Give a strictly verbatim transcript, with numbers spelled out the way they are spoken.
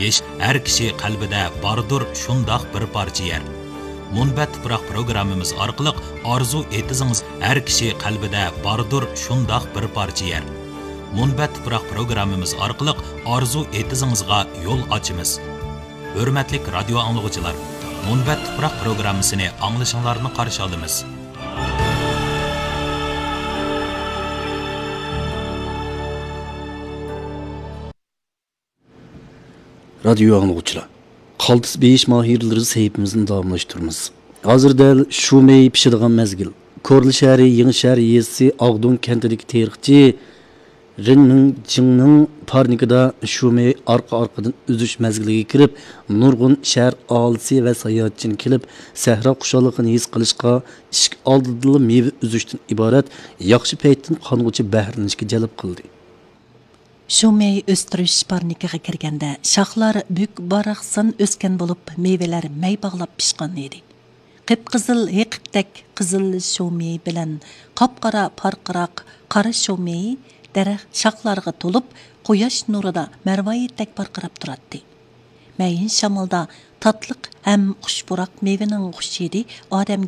ھېچ ھەر كىشى قەلبىدە باردۇر شۇنداق بىر پارچە يەر. مۇنبەت تۇپراق پروگراممىمىز ئارقىلىق ئارزۇ ئېتىزىڭىز ھەر كىشى قەلبىدە باردۇر شۇنداق بىر پارچە يەر. مۇنبەت تۇپراق پروگراممىمىز ئارقىلىق ئارزۇ ئېتىزىڭىزغا يول ئاچىمىز. ھۆرمەتلىك رادىيو ئاڭلىغۇچىلار، مۇنبەت تۇپراق پروگراممىسىنى ئاڭلىشىڭلارنى قارشى ئالىمىز. رادىيو ئاڭلىغۇچىلار، قالتىس بېيىش ماھىرلىرى سەھىپىمىزنى داۋاملاشتۇرىمىز. ھازىر دەل شۇ مېيى پىشىدىغان مەزگىل. كورلا شەھىرى يېڭى شەھەر يېزىسى ئاغدۇن كەنتىدىكى تېرىقچى رېن مىڭ جىڭنىڭ پارنىكىدا شۇ مېيى ئارقا-ئارقىدىن ئۈزۈش مەزگىلىگە كىرىپ، نۇرغۇن شەھەر ئاھالىسى ۋە ساياھەتچىنى كېلىپ، سەھرا خۇشاللىقىنى ھېس قىلىشقا، ئىشىك ئالدىدىلا مېۋە ئۈزۈشتىن ئىبارەت ياخشى پەيتتىن قانغۇچە بەھرىلىنىشكە جەلپ قىلدى. شۇ مېي ئۆستۈرۈش پارنىكىغا كىرگەندە، شاخلار بۈك-باراقسان ئۆسكەن بولۇپ، مېۋىلەر مەي باغلاپ پىشقان ئىدى. قىپقىزىل ھېقىقتەك قىزىل شۇ مېي بىلەن قاپقارا پارقىراق قارا شۇ مېي دەرەخ شاخلارغا تولۇپ، قۇياش نۇرىدا مەرۋايىتتەك پارقىراپ تۇراتتى. مەيىن شامالدا تاتلىق ھەم خۇش پۇراق مېۋىنىڭ خۇش ھىدى ئادەمگە